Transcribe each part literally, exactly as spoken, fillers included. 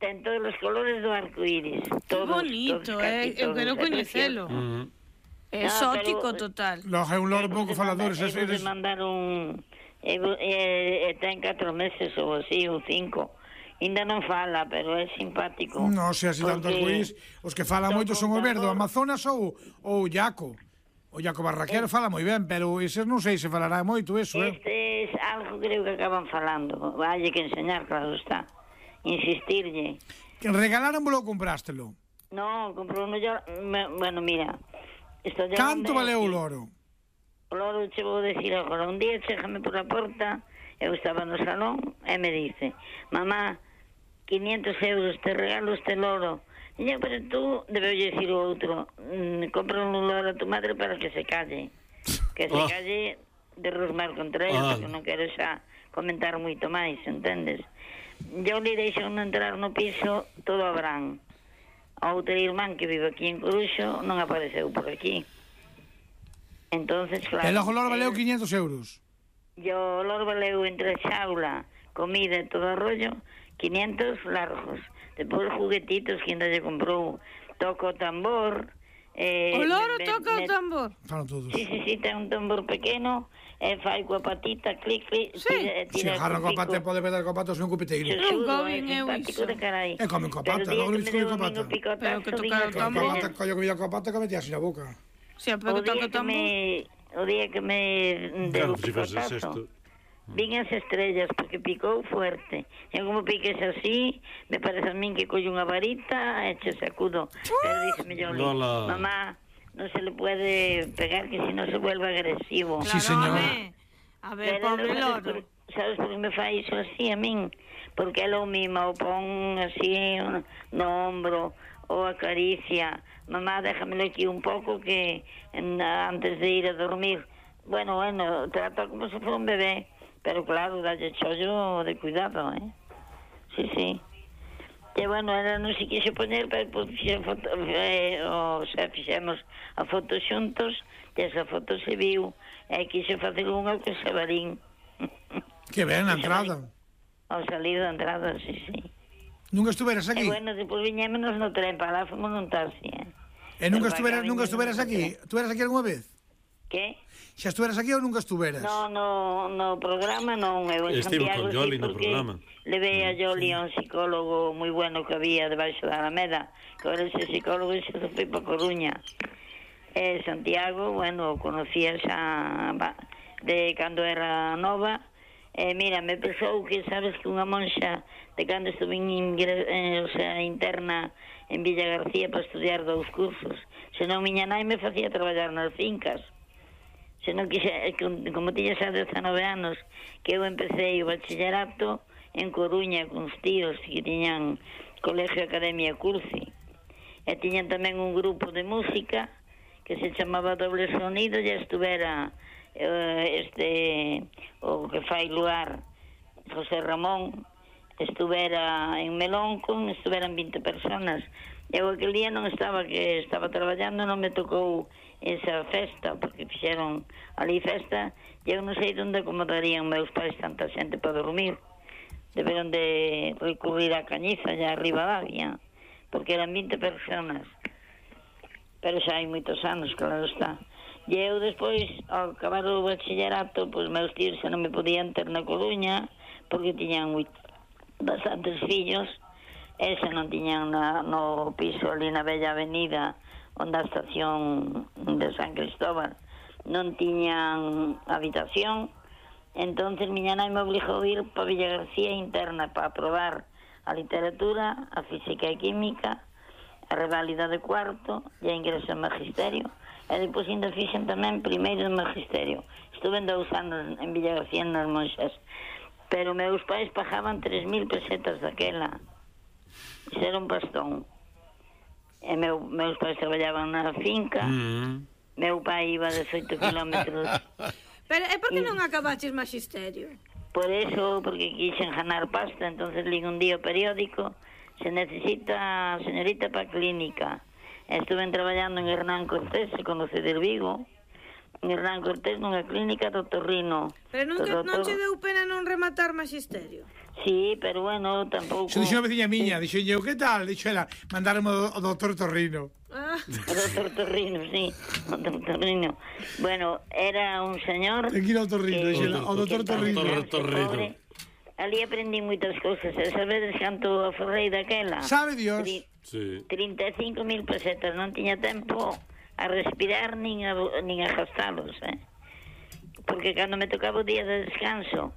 ten todos os colores do arcoíris. Que bonito, eh? Eu quero coñecelo. É exótico total. Logo é un loro pouco falador. Eu vou de mandar un... E ten catro meses ou así, ou cinco. Ainda non fala, pero é simpático. Non, se así tanto arcoíris, os que falan moito son o verde, o Amazonas ou o Iaco. O Iaco Barraquero fala moi ben, pero eses non sei se falará moito eso, eh? Este é algo que creo que acaban falando. Valle que enseñar, claro está. Insistirlle. Que regalaronvolo ou comprástelo? Non, comprou no yo... Bueno, mira. Canto valeu o loro? O loro che vou decir agora. Un día chégame por a porta, eu estaba no salón, e me dice: mamá, quinientos euros, te regalo este loro. E eu, pero tú, debeu dicir o outro, mm, compra un loro a tu madre para que se calle. Que se oh. calle de Rosmar contra ela, oh. porque non quero xa comentar moito máis, entendes? Eu li deixo non entrar no piso todo a Brán. A outra irmán que vive aquí en Coruxo non apareceu por aquí. Entonces, claro... E logo o loro valeu quinientos euros? Yo o loro valeu entre xaula, comida e todo o rollo, quinientos largos. Depois juguetitos que ainda lle comprou. Toca o tambor... Eh, o loro me, toca me, o tambor? Falan todos. Sí, sí, sí, ten un tambor pequeno, e fai coa patita, clic, clic... Sí, tira, tira si agarra coa pata e pode pegar coa pata sen un cupiteiro. Non comen eu iso. E comen coa pata, logo non comen coa pata. Pero que toca o tambor... Collo comida coa pata que metía así na boca. Sí, pero que toca o tambor... O día que me deu o picotazo, vin as estrellas, porque picou fuerte. E como piques así, me parece a min que colle unha varita e che sacudo. Pero díxeme yo, mamá, non se le puede pegar, que si non se vuelve agresivo. Claro, sí, señor. A ver, pobre loro. Sabes por que me fai iso así a min? Porque ela o mima, o pon así no hombro, ou acaricia. Mamá, déjamelo aquí un pouco que antes de ir a dormir. Bueno, bueno, trata como se fue un bebé, pero claro, dalle chollo de cuidado, eh? Sí, sí. E bueno, ela non se quixo poñer, pero pues, foto, eh, o sea, fixemos a foto xuntos, e esa foto se viu, e quixo facer unha que se varín. Que ben, a entrada. Ao salir da entrada, sí, sí. Nunca estuveras aquí? E bueno, depois viñémonos no tren, para lá fomos nun taxi, eh? E nunca estuveras, nunca estuveras aquí? Estuveras aquí alguma vez? Que? Xa estuveras aquí ou nunca estuveras? No, no, no programa non, eu en Estivo Santiago, con Yoli sí, no programa. Levei a Yoli a un psicólogo moi bueno que había debaixo da Alameda, que ahora ese psicólogo se foi para Coruña. E Santiago, bueno, conocía xa de cando era nova. E mira, me pensou que sabes que unha monxa de cando estuve en, eh, o sea, interna en Villa García para estudiar dous cursos, senón miña nai me facía traballar nas fincas. Senón que xa, como tiña xa dezanove anos, que eu empecé o bachillerato en Coruña con os tíos que tiñan Colegio Academia Curci, e tiñan tamén un grupo de música que se chamaba Doble Sonido, e estuvera este o que fai lugar José Ramón, estuvera en Melón con estuveran vinte personas. Eu aquel día non estaba, que estaba traballando, non me tocou esa festa, porque fixeron ali festa, e eu non sei onde acomodarían meus pais tanta xente para dormir. Deberon de recurrir a Cañiza, ya arriba da Avia, porque eran vinte personas. Pero xa hai moitos anos, claro está. E eu despois, ao acabar o bachillerato, pois meus tíos xa non me podían ter na Coruña, porque tiñan bastantes fillos, e xa non tiñan na, no piso ali na Bella Avenida, onde a estación de San Cristóbal, non tiñan habitación. Entonces miña nai me obligou a ir para Villa García interna para aprobar a literatura, a física e química, a reválida de cuarto e a ingreso en magisterio. E depois ainda fixen tamén primeiro de magisterio. Estuve dous anos en Villa García nas Monxas, pero meus pais pagaban tres mil pesetas daquela. Isso era un pastón. E meu, meus pais traballaban na finca, mm. meu pai iba dezoito kilómetros. Pero é por que non acabaches magisterio? Por eso, porque quixen ganar pasta, entonces li un día o periódico, se necesita señorita para clínica. Estuve traballando en Hernán Cortés, se conoce de Vigo, en Hernán Cortés nunha clínica do Torrino. Pero non, que, non che deu pena non rematar magisterio? Sí, pero bueno, tampouco... Se dixo a veciña miña, dixo eu, que tal? Dixo ela, mandaron o doutor Torrino. Ah. O doutor Torrino, sí, o doutor Torrino. Bueno, era un señor... Ten que ir ao Torrino, dixo ela, o doutor Torrino. Torrino. Ali aprendí moitas cousas. E sabedes canto aforrei daquela? Sabe Dios. Tri Sí. trinta e cinco mil pesetas. Non tiña tempo a respirar nin a, nin a gastalos, eh? Porque cando me tocaba o día de descanso,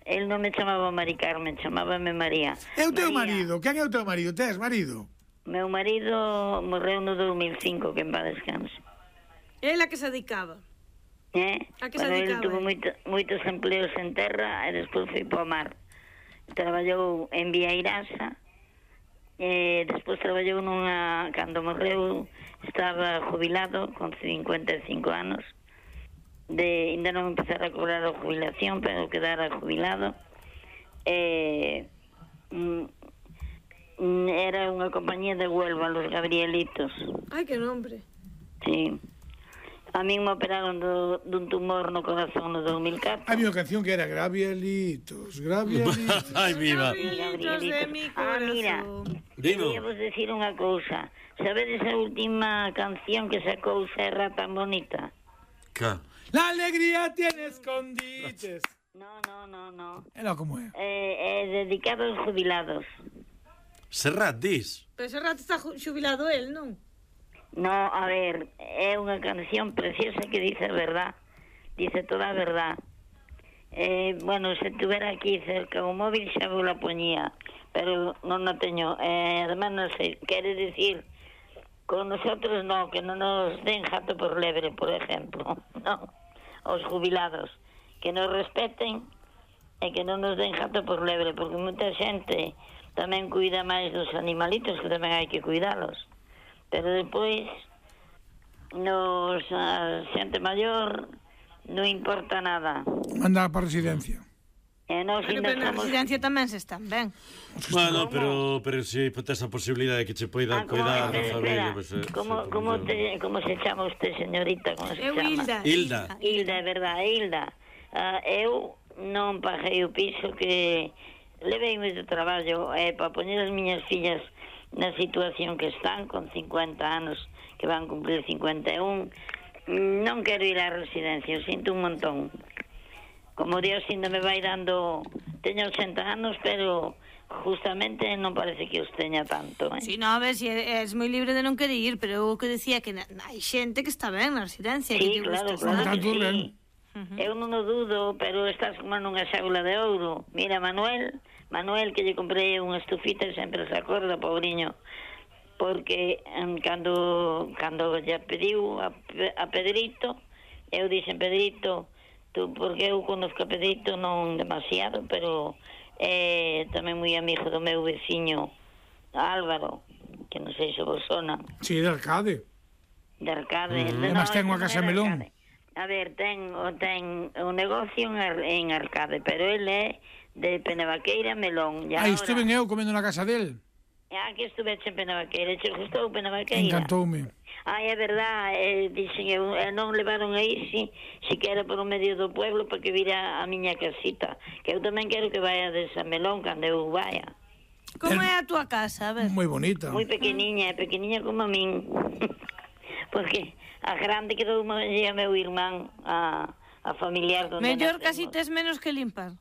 el non me chamaba Mari Carmen, chamábame María. É o teu María. marido? Quen é o teu marido? Tes marido? Meu marido morreu no dos mil cinco, que en paz descanso. Ela que se dedicaba. Eh? A que se Bueno, ele dedicaba? tuvo moito, moitos empleos en terra e despois foi para o mar. Traballou en Viairasa e despois traballou nunha... Cando morreu estaba jubilado con cincuenta e cinco anos. De, ainda non empezara a cobrar a jubilación, pero quedara jubilado. E, mm, era unha compañía de Huelva, los Gabrielitos. Ai, que nombre. Sí. A min me operaron do, dun tumor no corazón no dos mil catro. Había unha canción que era Gravielitos, Gravielitos. Ai, viva. Gabrielitos de mi Ah, mira, Dino. quería vos decir unha cousa. Sabedes a última canción que sacou Serra tan bonita? Ca. La alegría tiene escondites. No, no, no, no. Era como é. É, é dedicado aos jubilados. Serrat, dis. Pero ese rato está ju- xubilado el, non? No, a ver, é unha canción preciosa que dice a verdad. Dice toda a verdad. Eh, bueno, se tuvera aquí cerca o móvil xa vos la poñía, pero non a teño. Eh, además, non sei, quere decir, con nosotros no, que non nos den jato por lebre, por exemplo. No, os jubilados. Que nos respeten e que non nos den jato por lebre, porque moita xente tamén cuida máis dos animalitos, que tamén hai que cuidalos. Pero depois, nos a xente maior non importa nada. Manda para a residencia. E nós Pero, ainda pero na somos... residencia tamén se están ben. Bueno, pero, pero si tes a posibilidade de que che poida Ah, como, cuidar da espera, familia, espera. pues, eh, como, sí, como, pues, te, como se chama usted, señorita? Como se Eu chama? Hilda. Hilda. Hilda, é verdade, Hilda. Uh, eu non paguei o piso que levei moito traballo eh, para poñer as miñas fillas na situación que están, con cincuenta anos, que van cumplir cincuenta e un. Non quero ir á residencia, sinto un montón. Como Dios ainda me vai dando... Teño ochenta anos, pero justamente non parece que os teña tanto, eh? Si, no, a ver, si es moi libre de non querer ir, pero eu que decía que na, hai xente que está ben na residencia. Sí, que lle claro, gusta claro estar. que Tanto sí. ben. Eu non o dudo, pero estás como nunha xaula de ouro. Mira, Manuel, Manuel, que lle comprei unha estufita e sempre se acorda, pobriño, porque um, cando cando lle pediu a, a Pedrito, eu dixen, Pedrito, tú, porque eu conozco a Pedrito non demasiado, pero é tamén moi amigo do meu veciño Álvaro, que non sei se vos sona. Sí, de Arcade. De Arcade. Mm. De, Además ten unha non casa é de melón. Arcade. A ver, ten, o ten un negocio en, Ar, en Arcade, pero ele é de Penabaqueira Melón. E Aí ahora- estuve eu comendo na casa del. Ah, que estuve en Penabaqueira. Che gustou Penabaqueira? Encantoume. Ai, é verdad, eh, dixen eu, eh, non levaron aí, si, siquera por o medio do pueblo, para que vira a miña casita. Que eu tamén quero que vaya de San Melón, cando eu vaya. Como é a túa casa? A ver. Moi bonita. Moi pequeniña, pequeniña como a min. Porque a grande quedou a meu irmán, a, a familiar donde Mellor nacemos. casi tes menos que limpar.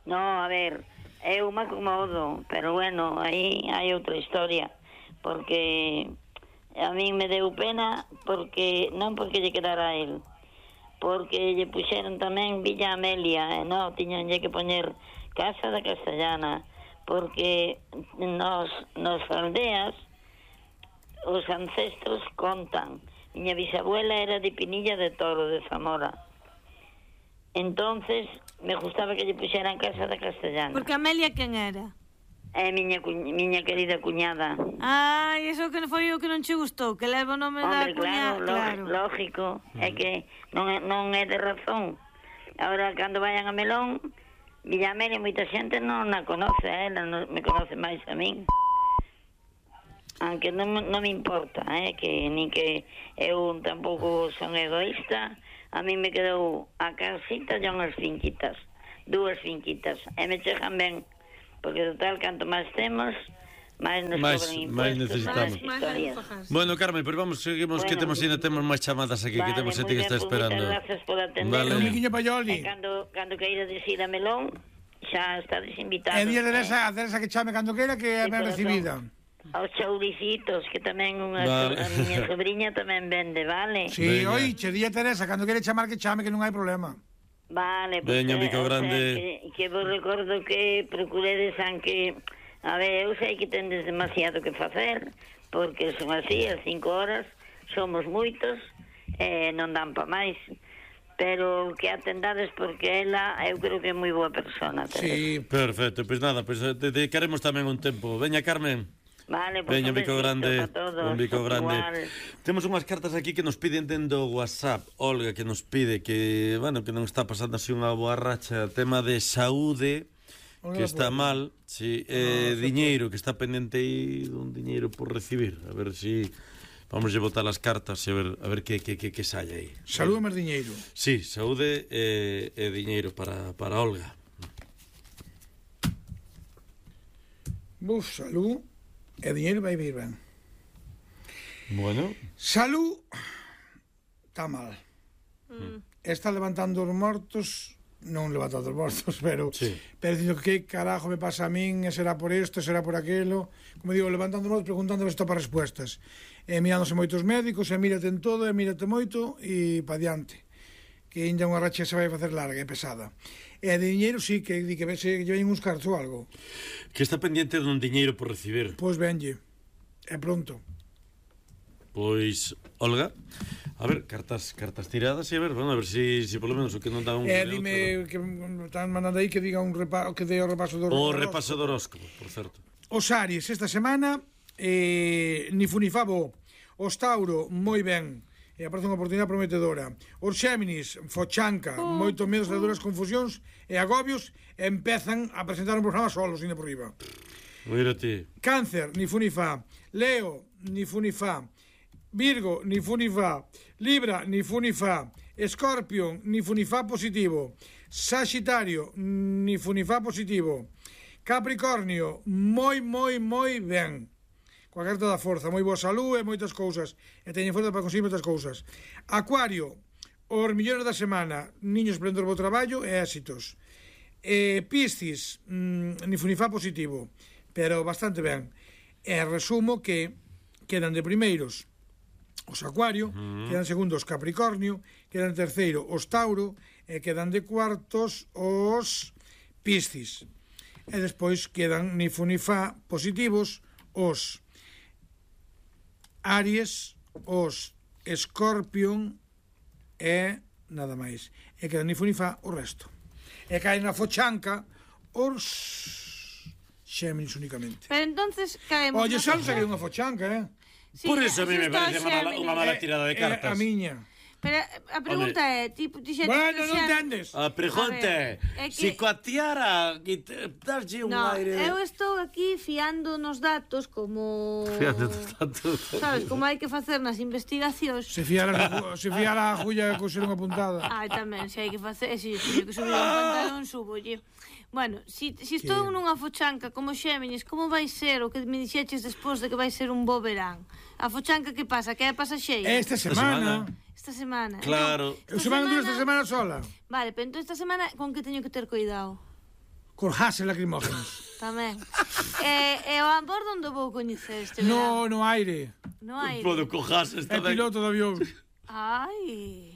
No, a ver, eu me acomodo, pero bueno, aí hai outra historia, porque a min me deu pena, porque non porque lle quedara a él, porque lle puxeron tamén Villa Amelia, e non, tiñanlle que poñer Casa da Castellana, porque nos, nos aldeas os ancestros contan. Miña bisabuela era de Pinilla de Toro, de Zamora. Entonces, me gustaba que lle puxeran Casa da Castellana. Porque Amelia quen era? É miña, cu... miña querida cuñada. Ai, iso que foi o que non che gustou, que leva o nome da Hombre, cuña. claro, claro, lógico. É que non é, non é de razón. Ahora, cando vayan a Melón, Villa Amelia, moita xente non a conoce, eh? Ela non me conoce máis a min. Aunque non, non me importa, eh? Que nin que eu tampouco son egoísta. A mí me quedou a casita e unhas finquitas, dúas finquitas, e me chegan ben porque total, canto máis temos, máis nos Máis- cobran impuestos, máis necesitamos. máis historias. Bueno, Carmen, pero vamos, seguimos que Bueno, temos ainda temos máis chamadas aquí, que Vale, temos xente moi que está ben, pois esperando. moitas gracias por atender. Vale. Un miquiño E paioli. cando, cando queira decir a Melón, xa estades invitados. E día de eh, Teresa, a Teresa que chame cando queira que é de ben corazón. recibida. Aos chouricitos, que tamén unha Vale. a miña sobriña tamén vende, vale? Sí, Veña. oiche, día Teresa, cando quere chamar que chame que non hai problema. Vale, pues, Veña, eh, Mico o sea, Grande. que, que vos recordo que procuredes aunque... A ver, eu sei que tendes demasiado que facer, porque son así, as cinco horas, somos moitos, e non dan pa máis. Pero que atendades porque ela, eu creo que é moi boa persona. Teresa. Sí. Perfecto, pois nada, pois eh, dedicaremos tamén un tempo. Veña, Carmen. Vale, pues Veña, un Mico besito Grande, pa todos, un bico grande. igual. Temos unhas cartas aquí que nos piden dentro do WhatsApp. Olga, que nos pide que, bueno, que non está pasando así unha boa racha, tema de saúde, que Olga, está pues. mal, sí, eh, diñeiro, que está pendente aí dun diñeiro por recibir. A ver si vamos a botar as cartas e a ver a ver que que que que sae aí. Saúde máis diñeiro. Sí, saúde e, e diñeiro para para Olga. Buf, salud e diñeiro vai vir ben. Bueno, Salud está mal. Mm. Está levantando os mortos, non levantando os mortos, pero Sí. pero dicindo que carajo me pasa a min, e será por isto, será por aquilo. Como digo, levantando os mortos, preguntando se topa respuestas. E mirándose moitos médicos, e mírate en todo, e mírate moito, e pa diante. Que ainda unha racha se vai facer larga e pesada. E de diñeiro sí, que di que se lle ven uns cartos ou algo. que está pendiente dun diñeiro por recibir. Pois venlle. E pronto. Pois, Olga, a ver, cartas cartas tiradas e a ver, bueno, a ver si, si por lo menos o que non dá un... E outro. dime que me están mandando aí que diga un repa, que dé o repaso do O horóscopo. repaso do horóscopo, por certo. Os Aries esta semana eh, ni fu ni favo. Os Tauro, moi ben, e aparece unha oportunidade prometedora. Os Xéminis, fochanca, moito medos, duras confusións e agobios, e empezan a presentar un programa solos, ainda por riba. Mira ti. Cáncer, ni fu ni fa. Leo, ni fu ni fa. Virgo, ni fu ni fa. Libra, ni fu ni fa. Escorpión, ni fu ni fa positivo. Saxitario, ni fu ni fa positivo. Capricornio, moi, moi, moi ben. Coa carta da forza, moi boa salud e moitas cousas. E teñen forza para conseguir moitas cousas. Acuario, os millóns da semana, niños prendor bo traballo e éxitos. E Piscis, mmm, ni fu ni fa positivo, pero bastante ben. E resumo que quedan de primeiros os Acuario, uh-huh. quedan segundos Capricornio, quedan terceiro os Tauro e quedan de cuartos os Piscis. E despois quedan ni fu ni fa positivos os Aries, os Escorpión e nada máis. E quedan ni fu ni fa o resto. E caen na fochanca os Xéminis únicamente. Pero entonces caemos... Oye, na xa non focha- saquei unha fochanca, eh? Sí, Por eso a mí me está parece unha mala, Xéminis. unha mala tirada de É cartas. a miña. Pero a pregunta é, tipo, dixete Bueno, que non xa- entendes. A pregunta A ver, é, é que- si coa tiara que te- darlle un No, aire... eu estou aquí fiando nos datos como... Fíjate tanto. Sabes, como hai que facer nas investigacións. Se fiara a, se fiara a Julla e coser unha puntada. Ai, tamén, se hai que facer, se teño que subir un pantalón, subolle. Bueno, si, si estou Que- nunha fochanca como Xéminis, como vai ser o que me dixeches despois de que vai ser un bo verán? A fochanca que pasa? Que é pasaxeira? Esta semana. Esta semana. Claro. Eu se van dúas esta semana sola. Vale, pero entón esta semana con que teño que ter cuidado? Con gases lacrimógenos. Tamén. e, e o amor onde vou coñecer este verán? No, no aire. No aire. Podo cojas É esta ben. piloto de avión. Ai,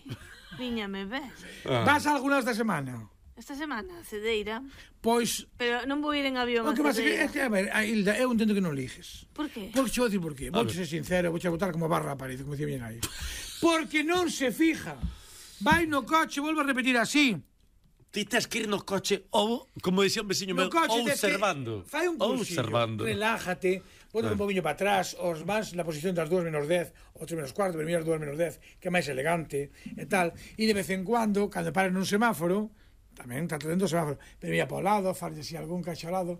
viñame ben. Ah. Vas a alguna esta semana? Esta semana, a Cedeira. Pois, Pero non vou ir en avión o a que pasa é que, Cedeira. é que, a ver, a Hilda, eu entendo que non liges. Por qué? Porque vou dicir por qué. Vou ver. ser sincero, vou a botar como barra a parede, como dicía bien aí. Porque non se fija. Vai no coche, volvo a repetir así. Ti tes que ir no coche ou, como dicía un veciño meu, No coche tes que- observando. Fai un cursillo, Observando. relájate, ponte un poquinho para atrás, os más na posición das dúas menos dez, ou tres menos cuarto, pero miras dúas menos dez, que é máis elegante, e tal. E de vez en cuando, cando pares nun semáforo, tamén está dentro do semáforo, pero mira para o lado, farlle así algún cacho ao lado.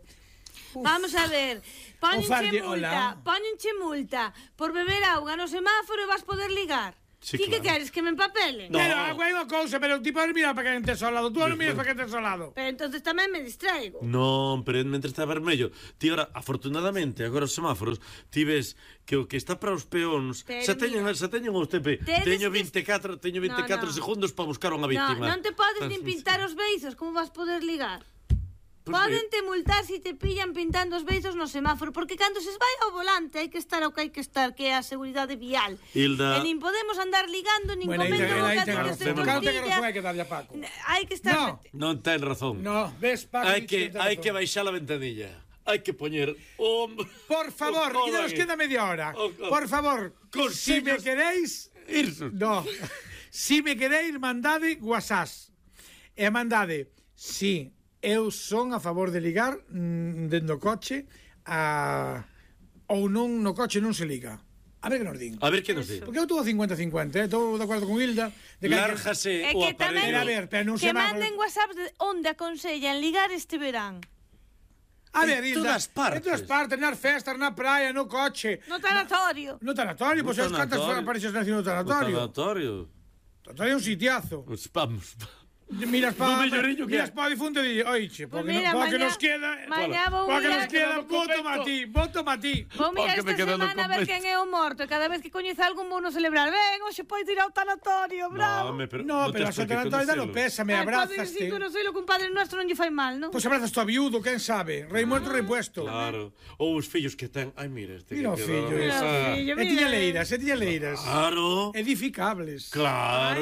Uf. Vamos a ver, póñenche farlle, multa, hola. póñenche multa por beber auga no semáforo e vas poder ligar. Sí, Ti que claro. queres, que me empapelen? No. Pero agua hai unha cousa, pero ti podes mirar para quen tes ao lado. Tú non miras para quen tes ao lado. Pero entonces tamén me distraigo. Non, pero mentre está vermello. Ti ora, afortunadamente, agora os semáforos, ti ves que o que está para os peóns, Pero se teñen, mira, se teñen os T P, tedes teño que- veinticuatro, teño veinticuatro No, no. segundos para buscar unha No, víctima. non te podes nin pintar os beizos, como vas poder ligar? Pois Poden mira. te multar se te pillan pintando os beizos no semáforo, porque cando se vai ao volante hai que estar o que hai que estar, que é a seguridade vial. Hilda. E nin podemos andar ligando, nin Bueno, aí comendo ten- aí bocata ten de razón. tortilla. Claro, ten razón, hai que darlle a Paco. Hai que estar... No. Non ten razón. No, ves, Paco. Hai que, ten hai razón. que baixar a ventanilla. Hai que poñer un... Por favor, o que codo nos aí. queda media hora. O codo. Por favor, si me Consellos- queréis... Irsus. No. Si me queréis, mandade WhatsApp. E mandade, si eu son a favor de ligar mm, dentro do coche a... ou non no coche non se liga. A ver que nos din. A ver que nos di. Porque eu estou a cincuenta cincuenta, eh? Estou de acordo con Hilda. De que hai que- É Lárjase o que tamén Mira, a aparello. ver, pero non que se va- manden WhatsApp de onde aconsellan ligar este verán. A ver, En Hilda, todas partes. en todas partes, nas festas, na praia, no coche. No tanatorio. No tanatorio, pois No pues, cantas tanatorio. apareces nacido no O tanatorio. tanatorio. Tanatorio é un sitiazo. Pues vamos. Miras No para melloriño que miras hai. pa difunto e di, oiche, Pues porque, mira, no, porque mañá- nos queda, mañá vou porque mirar- nos queda, Quedamos voto convento. a ti, voto a ti. Vou mirar Porque me esta quedo no semana a ver convento. quen é o morto. E cada vez que coñeza algún vou no celebrar. Ven, hoxe podes ir ao tanatorio, bravo. No, me, pero, No, pero a tens por que tanatorio dalo conocelo. pésame, Ai, abrazaste. Padre, si tú non sei lo que un padre nuestro non lle fai mal, non? Pois abrazas tú a viudo, quen sabe? Rei muerto, rei puesto. Claro. Ou os fillos que ten... Ai, mira, este Mira o que fillo, queda- ese. Ah, fillo. E tiña leiras, e tiña leiras. Claro. Edificables. Claro.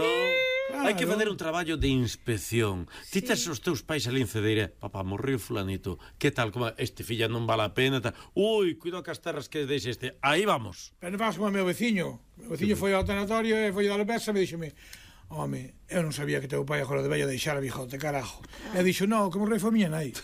Claro. Hai que facer un traballo de inspección. Ti tes os teus pais ali en Cedeira, papá, morreu fulanito. Que tal, como este filla non vale a pena, tal. Ui, cuidado que as terras que deixe este. Aí vamos. Pero non vamos como o meu veciño. O meu veciño foi ao tanatorio e foi dar pesa e me dixome, home, eu non sabía que teu pai agora debía deixar a bijote, carajo. E dixo, no, como rei foi miña nai.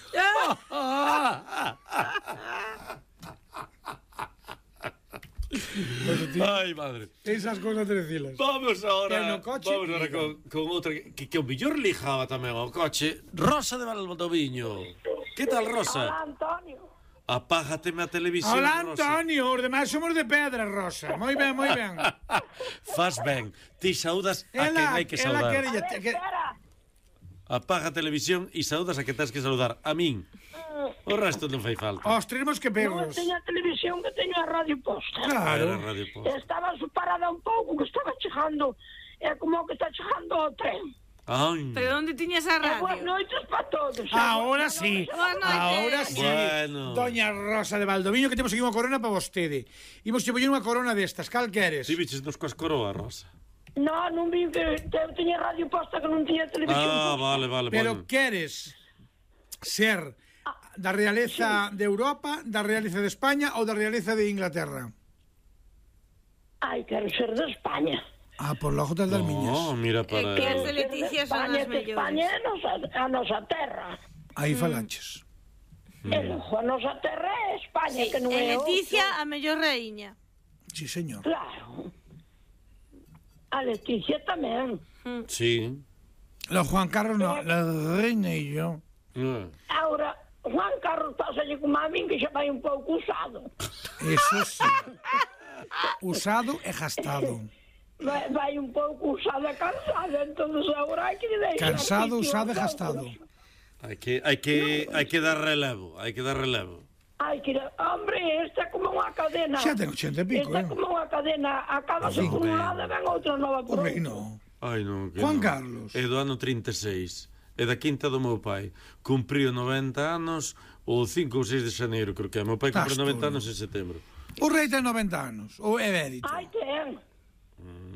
Ai, madre. Esas cosas te decilas. Vamos Que ahora, no coche, vamos ahora liga. con, con outra que, que o mellor lijaba tamén ao coche. Rosa de Valdoviño. Que tal, Rosa? Hola, Antonio. Apágateme a televisión, Hola, Rosa. Antonio, os demais somos de pedra, Rosa. Moi ben, moi ben. Faz ben. Ti saudas a quen hai que ela saudar. quere... A ver, Que... espera. Apaga a televisión e saudas a que tens que saudar. A min. O resto non fai falta. Os tenemos que Non perros. teño a televisión que teño a radio posta. Claro. Era Radio Post. Estaba parada un pouco, que estaba chegando. É como que está chegando o tren. Ai. Pero onde tiñas a E boas radio? noites para todos. Ahora sí, Boas noites. ahora sí. Bueno. Doña Rosa de Valdoviño, que temos aquí unha corona para vostede. Imos che poñer unha corona destas, cal queres? Ti biches nos coas coroa, Rosa. No, non vi que que eu tiña radio posta que non tiña televisión. Ah, posta. vale, vale. Pero bueno. queres ser da realeza de Europa, da realeza de España ou da realeza de Inglaterra? Ai, quero ser de España. Ah, por logo das das miñas. No, mira É que as para... de Leticia son España, as que España mellores. é a nosa, a nosa terra. Aí falaches. E logo a nosa terra é España, que non E é Leticia, outra. a mellor reíña. Sí, señor. Claro. A Leticia tamén. Sí. Lo Juan Carlos no, la reina e yo. Ah. Ahora, Juan Carlos pásalle como a min que xa vai un pouco usado. Eso sí. Usado e gastado. Vai, vai un pouco usado e cansado, entonces agora hai que deixar... Cansado, sitio usado e aos gastado. outros. Hai que, hai que, hai que dar relevo, hai que dar relevo. Hai que... Hombre, esta é como unha cadena. Xa ten ochenta e pico, Esta eh? é como unha cadena. Acabase Así. por un lado e ven outra nova por Hombre, outro. no. Ai, non, que Juan non. Carlos. É do ano trinta e seis. É da quinta do meu pai. Cumpriu noventa anos o cinco ou seis de xaneiro, creo que é. Meu pai Estás cumpriu noventa tú, anos en setembro. O rei ten noventa anos. Ou é verito. Ai, ten.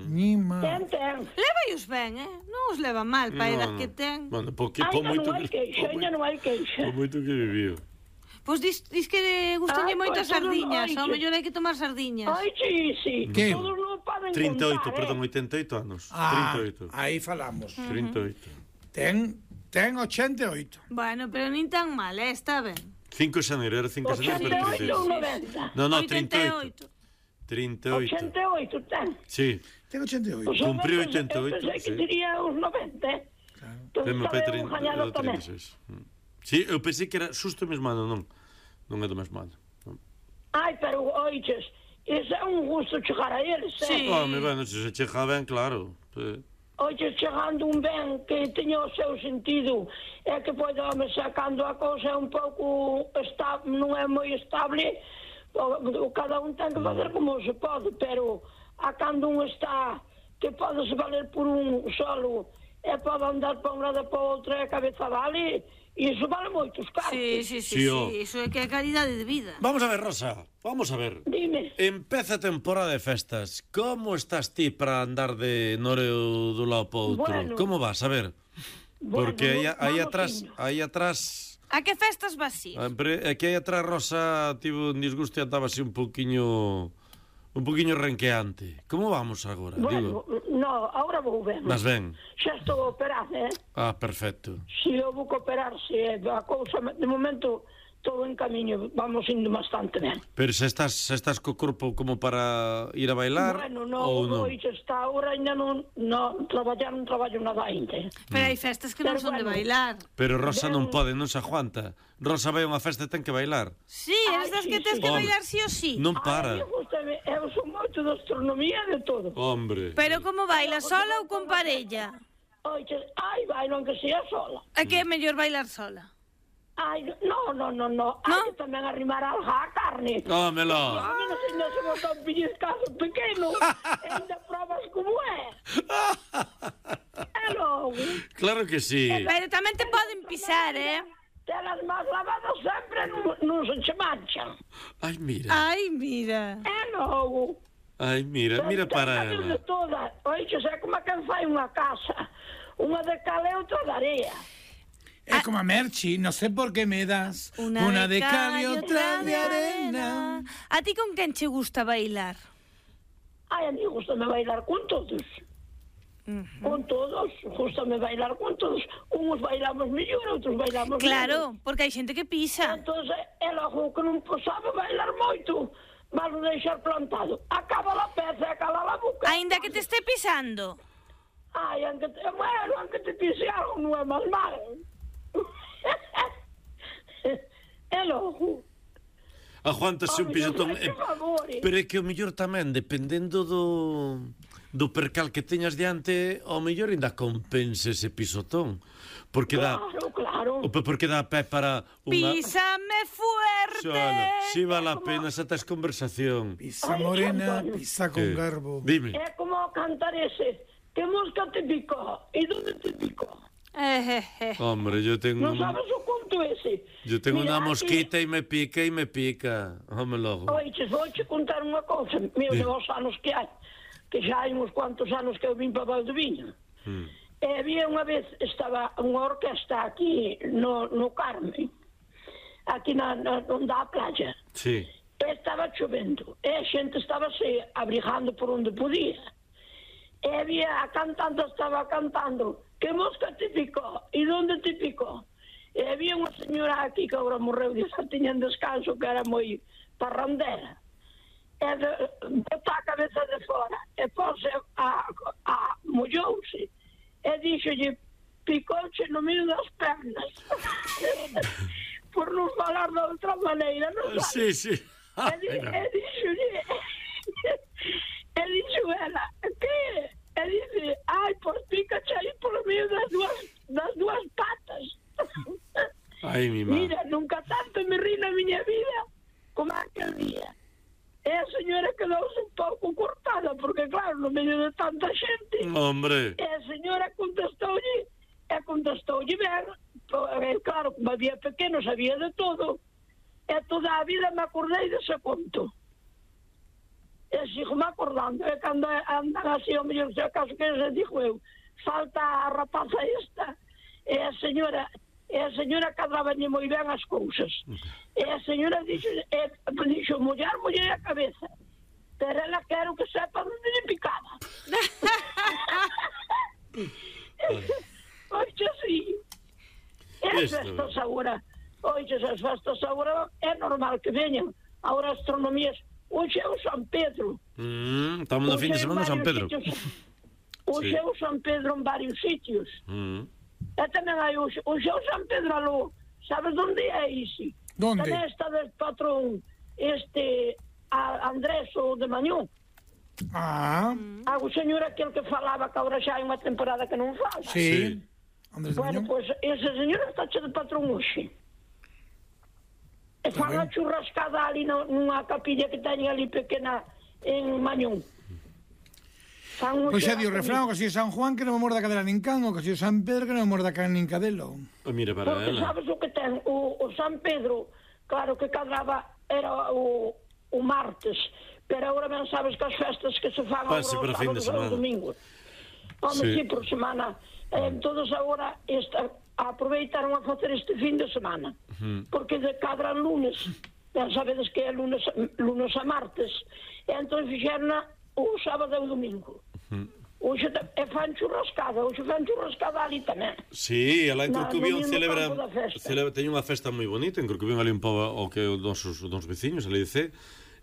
Nima. Ten, ten. Levaos ben, eh? Non os leva mal para a edad No, que no. ten. Bueno, porque Ainda po moito non hai que... queixa, ainda non hai queixa. Po moito que viviu. Pois dis, dis que gustanlle Ai, moito pois as todo sardiñas. non hai Ao que- mellor hai que tomar sardiñas. Ai, sí, sí. Que? Todos non poden trinta e oito, contar, perdón, eh? oitenta e oito anos. Ah, trinta e oito. aí falamos. trinta e oito. Ten, ten ochenta e oito. Bueno, pero nin tan mal, eh? Está ben. cinco de xaneiro, era cinco de xaneiro, pero ochenta e oito ou trinta e oito. noventa? No, no, oitenta trinta e e oito. oito. trinta e oito. ochenta e oito ten. Sí. Ten ochenta e oito. Pois eu Cumpriu pensei- oitenta e oito, Eu pensei que sí. diría os noventa, eh? Entón, Ten meu pai estaba eu trinta, gañado era tamén. trinta e seis. Mm. Sí, eu pensei que era xusto o mesmo ano, non. Non é do mesmo ano. Non. Ai, pero oiches, Ese é un gusto chegar a eles, Sí. eh? Home, bueno, se se chega ben, claro. Sí. Oye, chegando un ben que teña o seu sentido e que pode, home, sacando a cousa un pouco esta, non é moi estable, o, o cada un ten que facer como se pode, pero a cando un está que pode se valer por un solo e pode andar para un lado e para o outro e a cabeza vale, e iso vale moitos cartos. Sí, sí, sí, Sí, sí, oh. iso é que é calidade de vida. Vamos a ver, Rosa, vamos a ver. Dime. Empeza a temporada de festas. Como estás ti para andar de noreo do lado para outro? Bueno. Como vas? A ver. Bueno, Porque aí, aí vamos atrás, indo. aí atrás... A que festas vas ir? Sempre, aquí aí atrás Rosa tivo un disgusto e andaba así un poquiño... Un poquiño renqueante. Como vamos agora? Bueno, Digo, no, ahora vou ben. vas ben? Xa estou operada, eh? Ah, perfecto. Si eu vou operarse, a cousa, de momento, todo en camiño, vamos indo bastante ben. Pero se estás, se estás co corpo como para ir a bailar Bueno, no, ou non? hoxe está ahora ainda non, non traballar, non traballo nada ainda. eh. Pero hai festas que non Pero son de bueno. bailar. Pero Rosa non Ben- pode, non se aguanta. Rosa vai a unha festa e ten que bailar. Sí, eres Ai, das sí, que tens sí. que Home, bailar sí ou sí. Non Ai, para. eu, gustame, eu son moito de astronomía e de todo. Hombre. Pero como bailas, sola ou con parella? Oxe, ai, bailo aunque sea sola. É que é mellor bailar sola. Ai, no, no, no, no. Hai que tamén arrimar alga a carne. Hómelo. A mí non se non se botou un pellizcazo pequeno. Ainda probas como é. É logo. Claro que sí. Pero tamén te poden pisar, eh? Telas máis lavadas sempre non, non se che manchan. Ai, mira. Ai, mira. É logo. Ai, mira, mira para De ela. toda. Oixe, é como quen fai unha casa. Unha de cal e outra de area. Es como a Merchi, no sé por qué me das una, de cal y otra de arena. A ti con quen che gusta bailar? Ai, a mí gustame bailar con todos. Con todos, gustame bailar con todos. Uns bailamos mellor, outros bailamos Claro, menos. porque hai xente que pisa. Entón, é logo que non sabe bailar moito, vas deixar plantado. Acaba la peza e acaba la boca. Ainda que te este pisando. Ai, aunque te, bueno, aunque te pise algo, non é mal mal. É logo. Aguántase un Ai, pisotón. Dios, por favor, eh. Pero é que o mellor tamén, dependendo do do percal que teñas diante, ao mellor ainda compense ese pisotón. Porque dá Claro, claro. o pe- porque dá pé para unha Písame fuerte. Xoana, si vale a pena esa tes conversación. Pisa Ay, morena, Antonio. pisa con Eh, garbo. Dime. É como cantar ese. Que mosca te picó? E donde te picó? Eh, eh, eh. Hombre, yo tengo Non sabes o conto ese? yo tengo Mira, unha aquí- mosquita e me pica e me pica. Home logo. Oiches, vou che contar unha cousa, meu, de os anos que hai, que xa hai uns cuantos anos que eu vim para Valdeviño. Mm. E había unha vez, estaba unha orquesta aquí no, no Carmen, aquí na, na, onde a playa, Sí. e estaba chovendo, e a xente estaba se abrigando por onde podía. E había, a cantante estaba cantando, que mosca te picó, e donde te picó? E había unha señora aquí que agora morreu, e xa tiña en descanso, que era moi parrandera. E de, botou a cabeza de fora, e pose a, a mollouse, e dixolle, picouche no medio das pernas. Por non falar de outra maneira, non sabes? Sí, sí. E di- e dixolle, e dixo ela, que? E dice, ai, pois pícache aí por medio das dúas, das dúas patas. Ai, mi má. Mira, nunca tanto me ri na miña vida como aquel día. E a señora quedouse un pouco cortada, porque claro, no medio de tanta xente, Hombre. e a señora contestoulle, e contestoulle ben, e claro, como había pequenos, había de todo, e toda a vida me acordei dese conto. E sigo me acordando, e cando andan así, o mellor, se acaso que se dixo eu, falta a rapaza esta, e a señora, e a señora cadraballe moi ben as cousas. E a señora dixo, e, dixo, mullar, mullar a cabeza, pero ela quero que sepa onde lle picaba. Oxe, sí. E as Isto. festas agora, oxe, as festas agora é normal que veñan. Agora astronomías, hoxe é o San Pedro. Mm, estamos no Hoxe fin de hai semana de San varios Pedro. sitios. Hoxe Sí. é o San Pedro en varios sitios. Mm. E tamén hai hoxe, hoxe é o San Pedro Aló. Sabes onde é ese? ¿Dónde? Tamén está del patrón este a, a Andrés, o de Mañón. Ah, Ah, o señor aquel que falaba que agora xa hai unha temporada que non fala. sí. Andrés de Bueno, Mañón. pois ese señor está che de patrón hoxe. E fan a ben. churrascada ali no, nunha capilla que teñen ali pequena en Mañón. Fan un Pois xa di o churrasco. refrán, o castillo de San Juan que non me morda cadela nin can, o castillo de San Pedro que non me morda can nin cadelo. Oh, mira para Porque ela. sabes o que ten? O, o San Pedro, claro que cadraba, era o, o martes, pero agora ben sabes que as festas que se fan Pase agora para os fin de sábados e os semana. domingos. Home, Sí. sí, por semana. Eh, todos agora esta, aproveitaron a facer este fin de semana, porque de cadran lunes, ben sabedes que é lunes, lunes a martes, e entón fixeron o sábado e o domingo. Hoxe te- e fan churrascada, hoxe fan churrascada ali tamén. Sí, ela en Na- Corcubión no mismo celebra, campo da festa. celebra teñen unha festa moi bonita, en Corcubión ali un pouco o que os nosos, os nosos veciños, ali dice,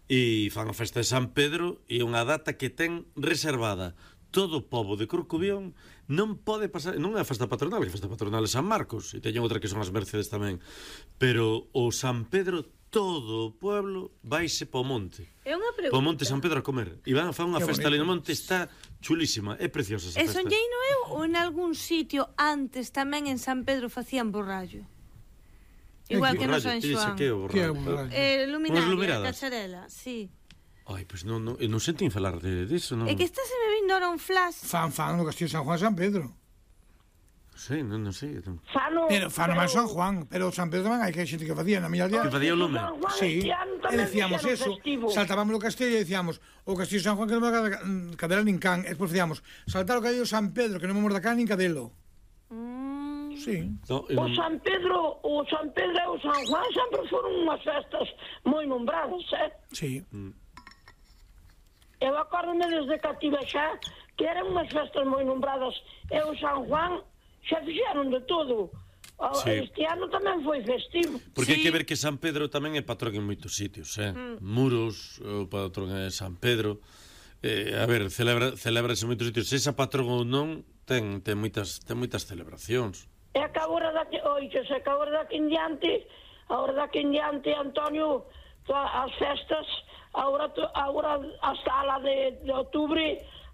e fan a festa de San Pedro e unha data que ten reservada todo o pobo de Corcubión non pode pasar, non é a festa patronal, que a festa patronal é San Marcos, e teñen outra que son as Mercedes tamén, pero o San Pedro, todo o pueblo vaise po monte. É unha pregunta. Po monte San Pedro a comer. E van a fan unha Que festa ali no bonito. monte, está chulísima, é preciosa esa E festa. sonlleino eu ou en algún sitio antes tamén en San Pedro facían borrallo? Igual que no Borrallo, San ti dice Xoán. que é o Que é o borrallo? borrallo? Eh, Unhas luminaria, lumiradas. cacharela, sí. Ai, pois non, non, eu non sentín falar de disso, non. É que está se me vindo ahora un flash. Fan, fan no castillo de San Juan San Pedro. Sí, non, non sei. Non. Fano, Pero fan máis San Juan, pero San Pedro tamén hai que hai xente que facía na miña aldea. Que facía o lume. San Juan Sí, este ano e tamén decíamos fixeron eso, festivo. saltábamos no castillo e decíamos o castillo de San Juan que non me morda cadela nin can, e despois decíamos saltar o castillo de San Pedro que non me morda can nin cadelo. Mm, Sí. No, eu O non... San Pedro, o San Pedro e o San Juan sempre foron unhas festas moi nombradas, eh? Sí. Eu acórdome desde que tive xa que eran unhas festas moi nombradas e o San Juan xa fixeron de todo. O- Sí. Este ano tamén foi festivo. Porque hai Sí. que ver que San Pedro tamén é patrón en moitos sitios, eh? Mm. Muros, o patrón é San Pedro. Eh, a ver, celebra, celebrase en moitos sitios. Se esa patrón ou non, ten, ten, moitas, ten moitas celebracións. E que agora daqui, oiches, e que agora daqui en diante, agora daqui en diante, Antonio, toa- as festas, agora, to- agora hasta a la de, de outubro,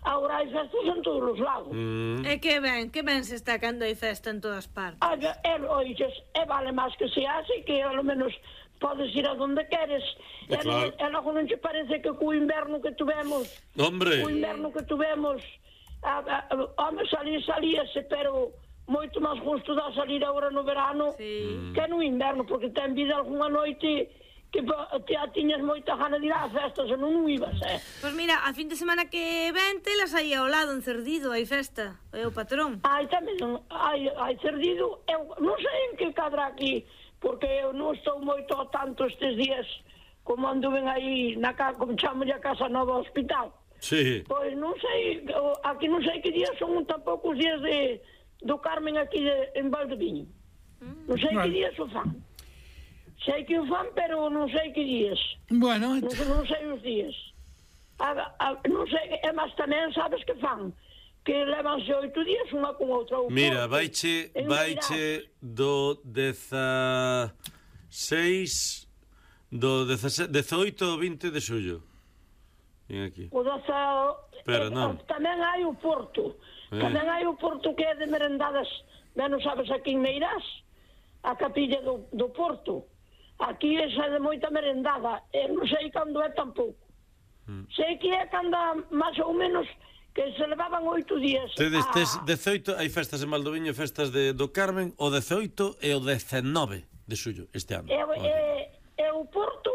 agora hai festas en todos os lados. Mm. É que ben, que ben se está cando hai festa en todas partes. Ai, e, oiches, e vale máis que se así, que ao menos podes ir a donde queres. É E, claro. e logo non te parece que co inverno que tuvemos, Hombre, o inverno que tuvemos, a, a, a, home, salir, salíase, pero moito máis gusto dá salir agora no verano Sí. que no inverno, porque ten vida algunha noite que pa- te a tiñas moita gana de ir á festa, se non ibas, eh? Pois mira, a fin de semana que ven telas aí ao lado en Cerdido, hai festa, é o patrón. Hai tamén, hai, hai cerdido, eu non sei en que cadra aquí, porque eu non estou moito ao tanto estes días, como anduven aí na casa, como chamo a Casa Nova Hospital. sí. Pois non sei, o- aquí non sei que días son tampouco os días de, do Carmen aquí de, en Valdeviño. Non sei Vale. que días o fan. Sei que o fan, pero non sei que días. Bueno, Non, non sei os días. A, a, non sei, e máis tamén sabes que fan, que levanse oito días unha con outra. ou Mira, pouco. vaiche, En vaiche do dezaseis, do dezoito ao vinte de xullo. Ven aquí. O doce, Pero eh, non. tamén hai o Porto. Eh. Tamén hai o Porto que é de merendadas, ben non sabes aquí en Meirás, a capilla do, do Porto. Aquí é xa de moita merendada, e non sei cando é tampouco. Mm. Sei que é cando máis ou menos que se levaban oito días. Tedes, a- tes dezoito, hai festas en Valdoviño, festas de, do Carmen, o dezoito e o dezenove de xullo este ano. E, Olha. e, e o Porto,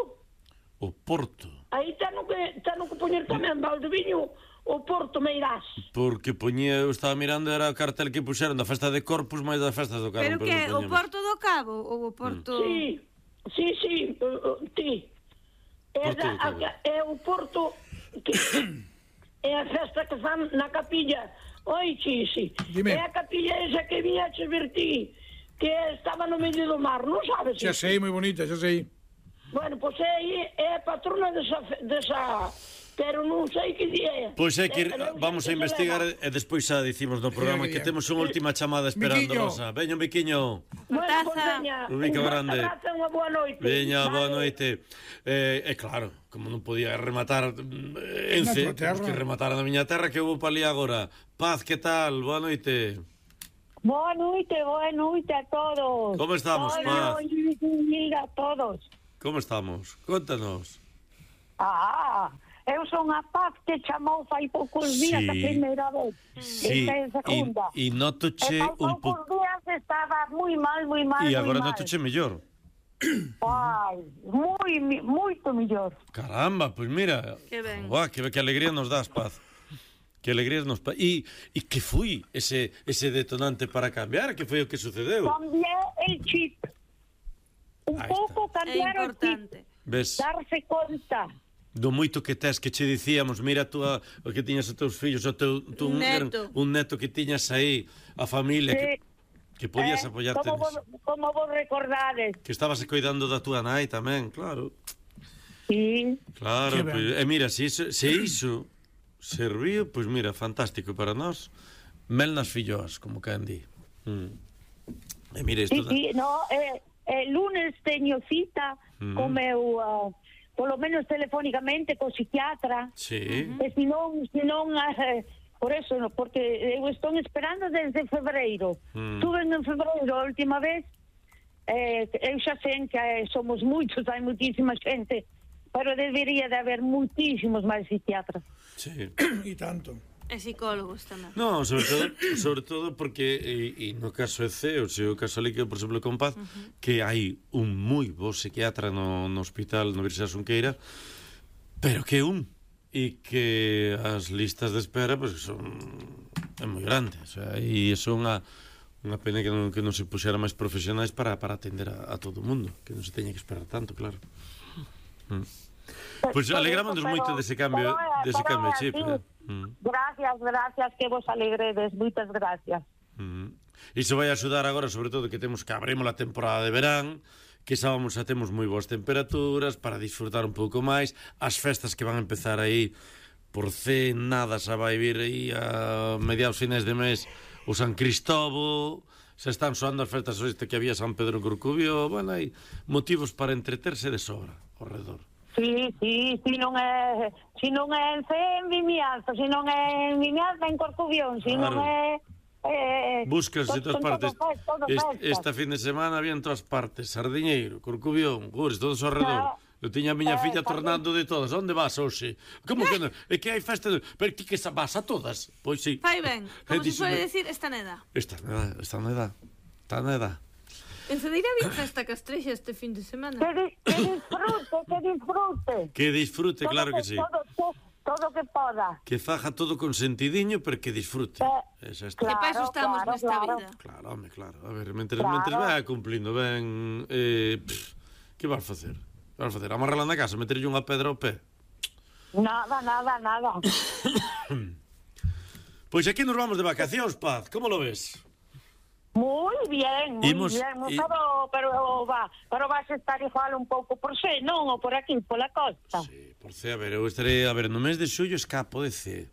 O Porto. aí teno que, teno que poñer tamén Valdeviño, o Porto Meirás. Porque poñía, eu estaba mirando, era o cartel que puxeron da festa de Corpus máis das festas do Carmen. Pero que non o poñemos. Porto do Cabo ou o Porto... Sí, sí, sí, uh, uh, ti. É, Porto da, do Cabo. a, é o Porto que é a festa que fan na capilla. Oi, Chisi, Dime. é a capilla esa que viña a ver ti, que estaba no medio do mar, non sabes? xa sei, moi bonita, xa sei. Bueno, pois é aí, é a patrona desa, fe- desa, pero non sei que día é. Pois é que Eh, vamos a que se investigar leva. e despois xa dicimos no programa que temos unha última chamada esperando, Miquiño. Rosa. Veño, Miquiño. Bueno, Taza. pois veña. Un bico grande. Unha boa noite. Veña, boa Vale. noite. Eh, e claro, como non podía rematar eh, Ence, Na tua terra. que rematar na miña terra, que vou pa ali agora. Paz, que tal? Boa noite. Boa noite, boa noite a todos. Como estamos, Hola, Paz? benvida a todos. Como estamos? Contanos. Ah, eu son a Paz que chamou fai poucos días Sí. a primeira vez. Sí, Esta é a segunda. e, e notoche E fai un poucos pouco... días estaba moi mal, moi mal, E moi agora mal. notoche mellor. Ai, moi, mi- moito mellor. Caramba, pois mira. Que ben. Buah, que, que alegría nos das, Paz. Que alegría nos... Pa... E, e que foi ese, ese detonante para cambiar? Que foi o que sucedeu? Cambié el chip. Un Ahí pouco É cambiar o chip. importante. Ves? Darse conta. Do moito que tes, que che dicíamos, mira a túa, o que tiñas os teus fillos, o teu, tu, Un un, neto. un neto que tiñas aí, a familia, que, Sí. que podías Eh, apoiarte como niso. vos, como vos recordades. Que estabas cuidando da túa nai tamén, claro. Sí. Claro, Que ben. pois, e mira, se iso, se iso serviu, pois mira, fantástico para nós. Mel nas filloas, como quen di. Mm. E mira, Sí, isto da... sí, no, eh, el lunes teño cita Mm. co meu, uh, polo menos telefónicamente, co psiquiatra, Sí. e se non, se non, eh, por eso, no, porque eu estou esperando desde febreiro. Mm. Tuve en febreiro a última vez, eh, eu xa sei que eh, somos moitos, hai moitísima xente, pero debería de haber moitísimos máis psiquiatras. Sí. E tanto. E psicólogos tamén. No, sobre todo, sobre todo porque e, e no caso é C, o seu caso ali que, por exemplo, con Paz, uh -huh. que hai un moi bo psiquiatra no, no hospital no Universidade Xunqueira, pero que é un e que as listas de espera pues, son é moi grande, o sea, e iso é unha unha pena que non, que non se puxera máis profesionais para, para atender a, a todo o mundo, que non se teña que esperar tanto, claro. Mm. Pois pues, alegramos moito dese cambio, dese cambio de chip, eh? Mm. Gracias, gracias, que vos alegredes, moitas gracias. Mm. Iso vai axudar agora, sobre todo, que temos que abremos a temporada de verán, que sábamos xa temos moi boas temperaturas para disfrutar un pouco máis, as festas que van a empezar aí por C, nada, xa vai vir aí a mediados finais de mes o San Cristóbal, xa están soando as festas este que había San Pedro en Corcubio, bueno, hai motivos para entreterse de sobra ao redor. Sí, sí, si non é, si non é en C, en Vimianzo, si non é en Vimianzo, en Corcubión, si Claro. non é... Eh, Buscas de todas partes. Todo, todo Est, esta fin de semana había en todas partes, Sardiñeiro, Corcubión, Gures, todos ao redor. Eu tiña a miña Eh, filla tamén. tornando de todas. Onde vas hoxe? Como que non? É que hai festa, de... pero ti que sa- vas a todas? Pois sí. Fai ben, como se dixo- suele decir, esta neda. Está nada, está nada. Está nada. En Cedeira había festa castrexa este fin de semana. Que, di- que disfrute, que disfrute. Que disfrute, Todo claro que sí. Todo, todo, todo que poda. Que faja todo con sentidiño, pero que disfrute. Eh, Esa está. Que claro, para iso estamos claro, nesta claro. vida. Claro, home, claro. A ver, mentres, Claro. mentres vai cumplindo ben... Eh, pff, que vas facer? Que vas facer? Amarrala na casa, meterlle unha pedra ao pé? Nada, nada, nada. Pois aquí nos vamos de vacacións, Paz. Como lo ves? Muy bien, muy Imos- bien. i- Pero, pero, va, pero vas a estar igual un pouco por xe, non? Ou por aquí, pola costa. Sí, por C, a ver, eu estarei... A ver, no mes de xullo escapo de C.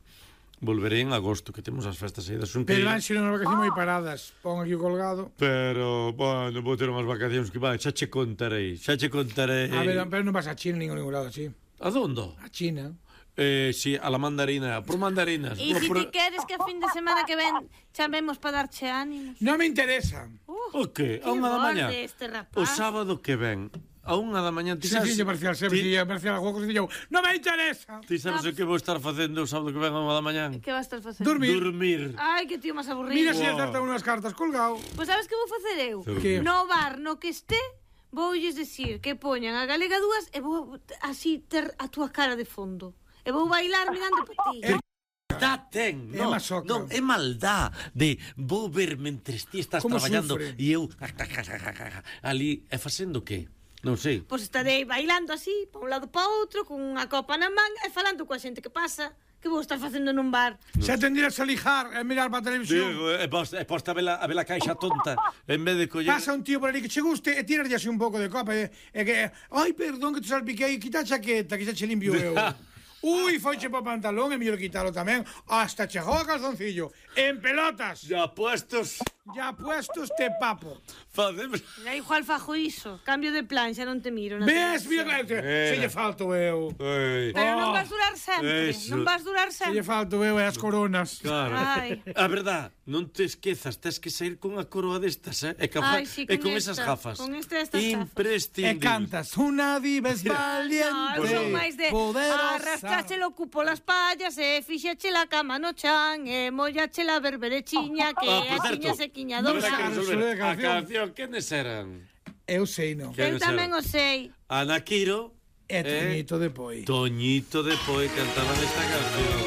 Volverei en agosto, que temos as festas aí da Pero Xunqueira. Anxo non vacacións moi paradas. Pon aquí o colgado. Pero, bueno, vou ter unhas vacacións que vai, xa che contarei, xa che contarei. A ver, pero non vas a China nin a ningún lado, sí. A dondo? A China. Eh, si, a la mandarina, por mandarinas. E por- se por... ti queres que a fin de semana que ven chamemos para darche ánimos. Non me interesa. O que? A Que unha da mañá? borde este rapaz. O sábado que ven, a unha da mañá, ti Si sabes... fixo parcial, se ti, fixo parcial a juego, se dixo, non me interesa. ti sabes o que vou estar facendo o sábado que ven a unha da mañá? Que vas a estar facendo? Dormir. Dormir. Ai, que tío máis aburrido. Mira se Wow. acerta unhas cartas colgado. Pois sabes que vou facer eu? Que? No bar no que este, voulles decir que poñan a galega dúas e vou así ter a túa cara de fondo. E vou bailar mirando para ti. Eh, Maldá ten, É non, masoca. non, é maldá de vou ver mentres ti estás Como traballando sufre. e eu ali, e facendo que? Non sei. Pois estarei bailando así, pa un lado pa outro, con unha copa na man e falando coa xente que pasa. Que vou estar facendo nun bar? Se atendieras a lijar e mirar para a televisión. Digo, e posta, e posta a ver a, a ver a caixa tonta en vez de coller... Pasa un tío por ali que che guste e tírarlle así un pouco de copa e, e que, ai, perdón que te salpiquei, quita a chaqueta que xa che limpio eu. Ui, foiche po pantalón, é mellor quitalo tamén. Hasta chegou a calzoncillo. En pelotas. Ya puestos, Ya puestos te papo. facemos... Da igual fajo iso. Cambio de plan, xa non te miro. na Ves, televisión. mira, que Mira. se lle falto eu. Ei, Pero non Oh, vas durar sempre. eso. Non vas durar Se lle sempre. falto eu e as coronas. claro. Ai. A verdad, non te esquezas, tes que sair con a coroa destas, eh? E, ca... Ai, sí, e con con esas esta, gafas. con esta- estas gafas. E Imprescindibles. cantas, una diva es valiente, No, eu son máis de poderosa. arrastrache o cupo las pallas e fixache la cama no chan e mollache la berberechiña que Ah, por a certo, tiña sequiña habrá dosa. que resolver. Resolver a A canción. canción, quenes eran? Eu sei, non. Que- Eu tamén o sei. Ana Quiro É Toñito de Poi. Toñito de Poi cantaban esta canción.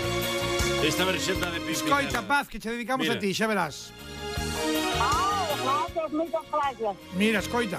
Esta versión da de Pimpinela. Escoita, Paz, que che dedicamos Mira. a ti, xa verás. Ah, gracias, moitas gracias. Mira, escoita.